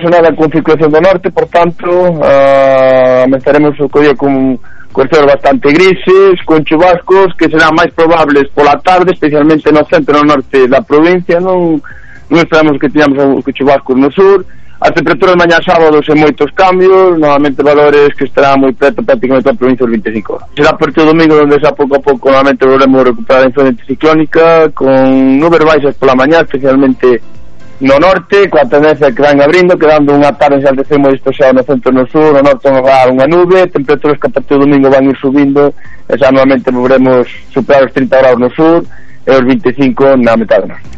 Nada con circulación do norte, por tanto, estaremos o día con cuestiones bastante grises, con chubascos que serán máis probables pola tarde, especialmente no centro e no norte da provincia. Non esperamos que teñamos chubascos no sur. As temperaturas mañá sábado sen moitos cambios, novamente valores que estarán moi preto prácticamente a provincia dos 25 horas. Será por todo o domingo onde xa pouco a pouco novamente volvemos a recuperar a influencia anticiclónica, con nubes baixas pola mañá, especialmente no norte, coa tendencia que van abrindo, quedando unha tarde xa de moi despexado no centro e no sur, no norte vai unha nube, temperaturas que a partir do domingo van ir subindo, e xa novamente volveremos superar os 30 graus no sur e os 25 na metade norte.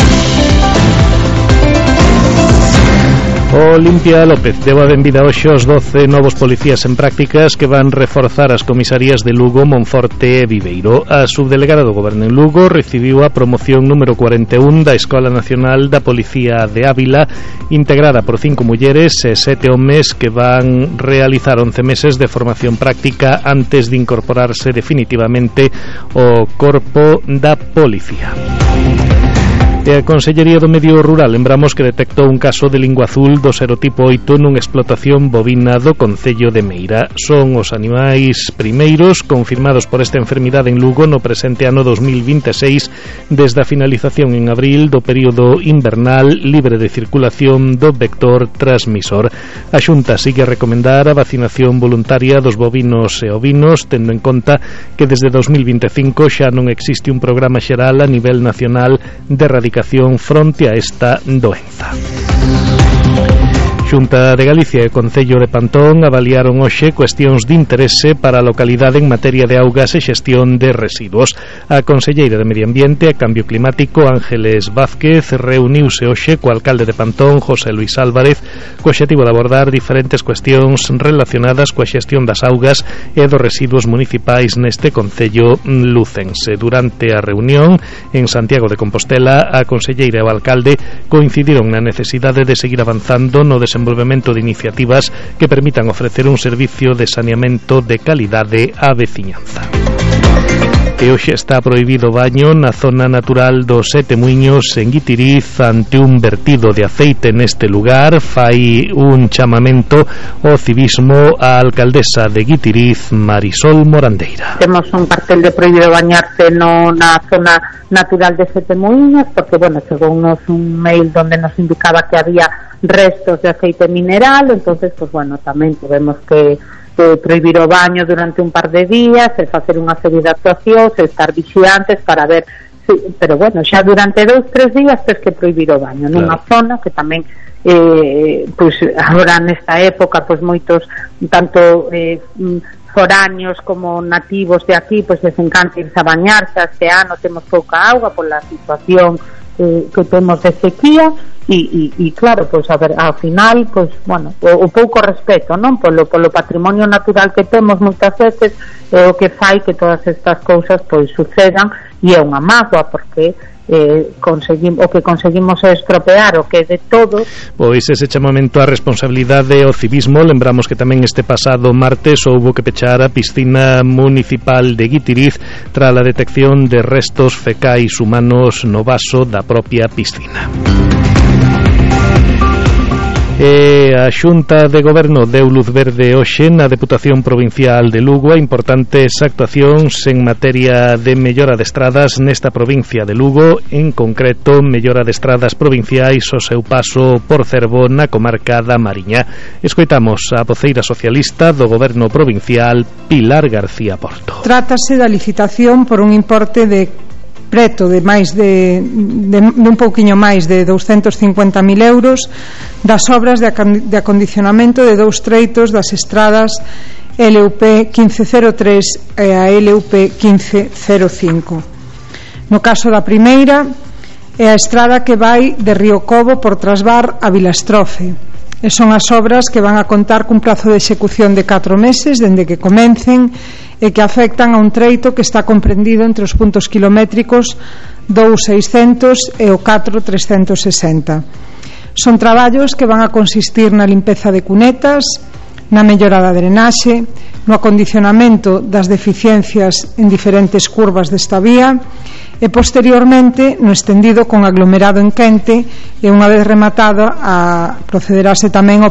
Olimpia López deu a benvida hoxe aos 12 novos policías en prácticas que van reforzar as comisarías de Lugo, Monforte e Viveiro. A subdelegada do Goberno en Lugo recibiu a promoción número 41 da Escola Nacional da Policía de Ávila, integrada por 5 mulleres e 7 homes que van realizar 11 meses de formación práctica antes de incorporarse definitivamente ao corpo da policía. E a Consellería do Medio Rural lembramos que detectou un caso de lingua azul do serotipo 8 nunha explotación bovina do concello de Meira. Son os animais primeiros confirmados por esta enfermidade en Lugo no presente ano 2026 desde a finalización en abril do período invernal libre de circulación do vector transmisor. A Xunta sigue a recomendar a vacinación voluntaria dos bovinos e ovinos, tendo en conta que desde 2025 xa non existe un programa xeral a nivel nacional de erradicación fronte a esta doenza. Xunta de Galicia e Concello de Pantón avaliaron hoxe cuestións de interese para a localidade en materia de augas e xestión de residuos. A conselleira de Medio Ambiente e Cambio Climático, Ángeles Vázquez, reuniuse hoxe co alcalde de Pantón, José Luis Álvarez, co obxectivo de abordar diferentes cuestións relacionadas coa xestión das augas e dos residuos municipais neste concello lucense. Durante a reunión en Santiago de Compostela, a conselleira e o alcalde coincidiron na necesidade de seguir avanzando no desenvolvemento de iniciativas que permitan ofrecer un servicio de saneamento de calidade á veciñanza. E hoxe está prohibido o baño na zona natural dos Sete Muiños en Guitiriz ante un vertido de aceite neste lugar. Fai un chamamento ao civismo á alcaldesa de Guitiriz, Marisol Morandeira. Temos un cartel de prohibido bañarse na zona natural de Sete Muiños porque, chegounos un mail donde nos indicaba que había restos de aceite mineral, entonces, tamén tuvemos que prohibir o baño durante un par de días, e facer unha serie de actuacións, e estar vixiantes para ver pero xa durante 2-3 días tens que prohibir o baño nunha zona que tamén agora nesta época moitos tanto foráneos como nativos de aquí les encanta irse a bañarse. Este ano temos pouca auga pola situación que temos de sequía e claro, ao final o pouco respeto, non, polo patrimonio natural que temos moitas veces é o que fai que todas estas cousas sucedan, e é unha mágoa porque o que conseguimos é estropear o que é de todos. Pois ese chamamento á responsabilidade ao civismo. Lembramos que tamén este pasado martes houbo que pechar a piscina municipal de Guitiriz tras a detección de restos fecais humanos no vaso da propia piscina. E a Xunta de Goberno deu luz verde hoxe na Deputación Provincial de Lugo a importantes actuacións en materia de mellora de estradas nesta provincia de Lugo, en concreto mellora de estradas provinciais ao seu paso por Cervo na comarca da Mariña. Escoitamos a voceira socialista do Goberno Provincial, Pilar García Porto. Trátase da licitación por un importe de preto de máis de un pouquiño máis de 250.000 euros das obras de acondicionamento de 2 treitos das estradas LUP 1503 e a LUP 1505. No caso da primeira é a estrada que vai de Río Cobo por Trasbar a Vilastrofe, e son as obras que van a contar cun prazo de execución de 4 meses dende que comecen e que afectan a un treito que está comprendido entre os puntos kilométricos 2.600 e o 4.360. Son traballos que van a consistir na limpeza de cunetas, na mellora da drenaxe, no acondicionamento das deficiencias en diferentes curvas desta vía e posteriormente no estendido con aglomerado en Quente, e unha vez rematado procederase tamén ao